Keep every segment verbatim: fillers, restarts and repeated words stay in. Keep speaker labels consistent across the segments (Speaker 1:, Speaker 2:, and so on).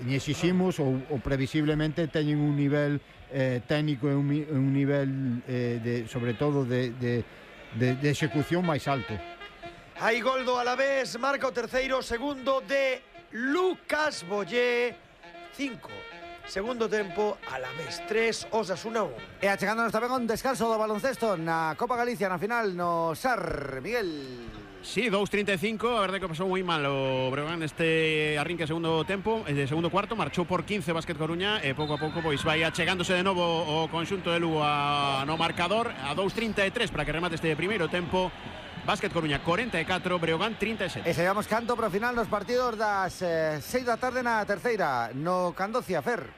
Speaker 1: ni exiximos ou, ou previsiblemente teñen un nivel eh, técnico e un, un nivel eh, de, sobre todo de, de, de, de execución máis alto.
Speaker 2: Hai gol do Alavés, marca o terceiro, segundo de Lucas Bollé, cinco. Segundo tempo, Alavés tres, Osasuna un.
Speaker 3: E achegándonos tamén un descanso do baloncesto na Copa Galicia, na final no S A R, Miguel.
Speaker 4: Sí, dos treinta y cinco, a verdade que pasou moi mal o Breogán neste arrinque segundo tempo, de segundo cuarto, marchou por quince Básquet Coruña e pouco a pouco pois vai achegándose de novo o conxunto de Lugo a, no marcador a dos treinta y tres para que remate este primeiro tempo. Básquet Coruña cuarenta y catro, Breogán treinta y sete.
Speaker 3: E seguimos canto para o final nos partidos das eh, seis da tarde na terceira, no Candocia, Fer.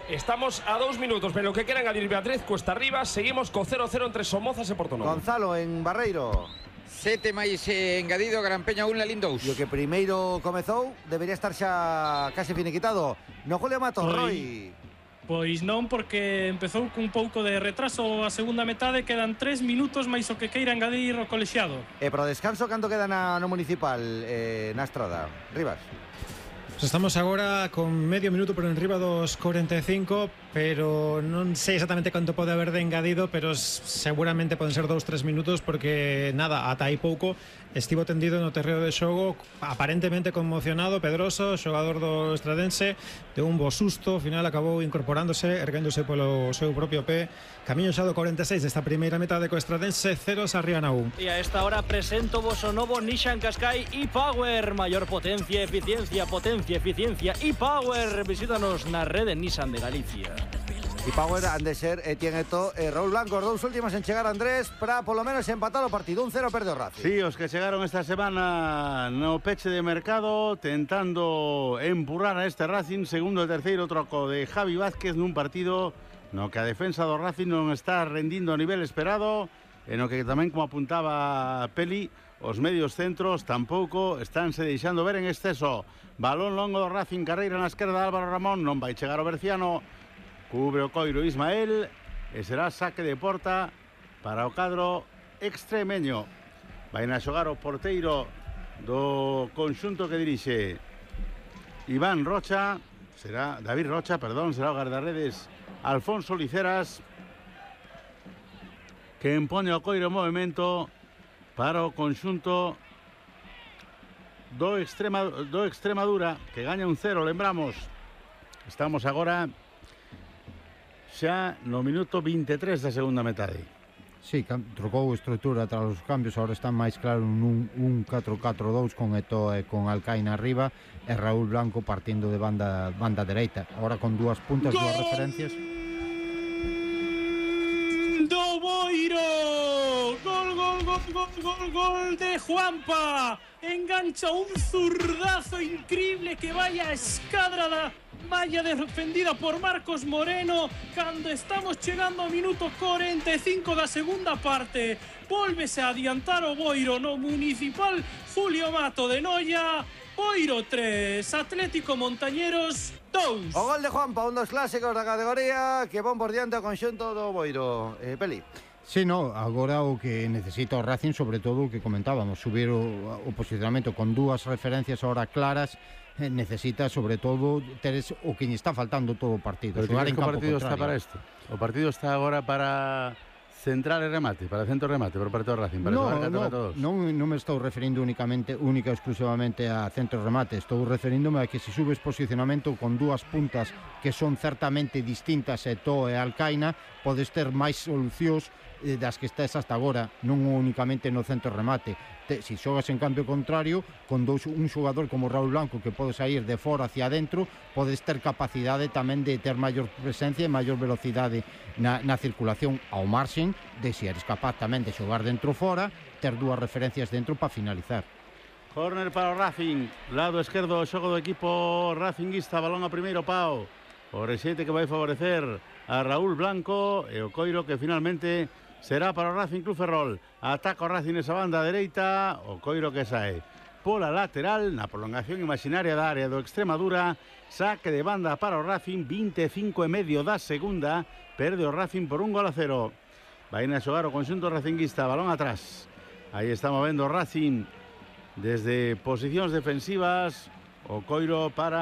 Speaker 5: Estamos a dos minutos, pero lo que quieran adir Beatriz, cuesta arriba, seguimos con cero cero entre Somozas e Porto Novo.
Speaker 3: Gonzalo en Barreiro.
Speaker 6: Sete máis eh, engadido, Gran Peña un, Lalín dous.
Speaker 3: E o que primeiro comezou debería estar xa case finiquitado. No Julio Matos, Roy.
Speaker 7: Pois non, porque empezou cun pouco de retraso a segunda metade, quedan tres minutos máis o que queira engadir o colexiado.
Speaker 3: E para o descanso, canto queda na, no municipal, eh, na Estrada? Rivas.
Speaker 8: Pues estamos agora con medio minuto por enriba dos cuarenta y cinco, pero non sei exactamente canto pode haber de engadido, pero seguramente poden ser dous, tres minutos, porque nada, ata aí pouco estivo tendido no terreo de xogo, aparentemente conmocionado, Pedroso, xogador do Estradense, de un bo susto, ao final acabou incorporándose, erguéndose polo seu propio pé. Camiño xa do cuarenta e seis desta primeira metade co Estradense, cero Sarriana un.
Speaker 9: E a esta hora presento vos o novo Nissan Qashqai e-Power, maior potencia, eficiencia, potencia, eficiencia e-Power. Visítanos na rede Nissan de Galicia.
Speaker 3: E-Power han de ser Etienne Eto'o e Raúl Blanco, os dous últimos en chegar, Andrés, para polo menos empatar o partido. Un cero perde o Racing.
Speaker 10: Sí, os que chegaron esta semana no peche de mercado, tentando empurrar a este Racing. Segundo e terceiro troco de Javi Vázquez nun partido no que a defensa do Racing non está rendindo a nivel esperado, e no que tamén, como apuntaba Peli, os medios centros tampouco estánse deixando ver en exceso. Balón longo do Racing, carreira na esquerda de Álvaro Ramón, non vai chegar o Berciano, cubre o coiro Ismael e será saque de porta para o cadro extremeño. Vai a xogar o porteiro do conxunto que dirixe Iván Rocha, será David Rocha, perdón, será o guardarredes Alfonso Liceras, que empone o coiro en movimento para o conxunto do, Extrema, do Extremadura, que gaña un cero, lembramos. Estamos agora xa no minuto vinte e tres da segunda metade.
Speaker 1: Sí, trocou estrutura tras os cambios, agora está máis claro nun un catro catro dous con Eto'o e con Alcaina arriba e Raúl Blanco partindo de banda banda dereita, agora con dúas puntas, dúas referencias.
Speaker 7: Do Boiro, gol, gol, gol, gol, gol, gol de Juanpa, engancha un zurdazo increíble que vaya a escadra da valla defendida por Marcos Moreno cando estamos chegando ao minuto cuarenta e cinco da segunda parte. Vólvese a adiantar o Boiro no municipal Julio Mato de Noia. Boiro tres, Atlético Montañeros dos.
Speaker 3: O gol de Juanpa, un dos clásicos da categoría que pon por diante o conxunto do Boiro. Eh, Peli.
Speaker 1: Sí, no, agora o que necesita o Racing, sobre todo o que comentábamos, subir o, o posicionamento con dúas referencias ahora claras, eh, necesita sobre todo ter o que lle está faltando todo o partido.
Speaker 10: Pero
Speaker 1: xogar en
Speaker 10: que
Speaker 1: campo
Speaker 10: o partido
Speaker 1: contrario.
Speaker 10: está para isto. O partido está agora para central e remate, para centro remate por parte do Racing, para
Speaker 1: no,
Speaker 10: xogar catro
Speaker 1: no,
Speaker 10: a todos.
Speaker 1: non, non me estou referindo únicamente, única e exclusivamente a centro remate, estou referíndome a que se subes posicionamento con dúas puntas que son certamente distintas, Eto'o e Alcaina, podes ter máis solucións eh, das que estés hasta agora, non únicamente no centro remate. Te, si xogas en cambio contrario, con dous, un xogador como Raúl Blanco que pode sair de fora hacia adentro, podes ter capacidade tamén de ter maior presencia e maior velocidade na, na circulación, ao marxen de se eres capaz tamén de xogar dentro fora, ter dúas referencias dentro para finalizar.
Speaker 10: Córner para o Racing, lado esquerdo, xogo do equipo racinguista, balón a primeiro pau, o rexeite que vai favorecer a Raúl Blanco e o coiro que finalmente será para o Racing Club Ferrol. Ataca o Racing esa banda dereita, o coiro que sae pola lateral na prolongación imaginaria da área do Extremadura. Saque de banda para o Racing, vinte e cinco e medio da segunda, perde o Racing por un gol a cero. Vai a xogar o conxunto racinguista, balón atrás. Aí está movendo o Racing desde posicións defensivas, o coiro para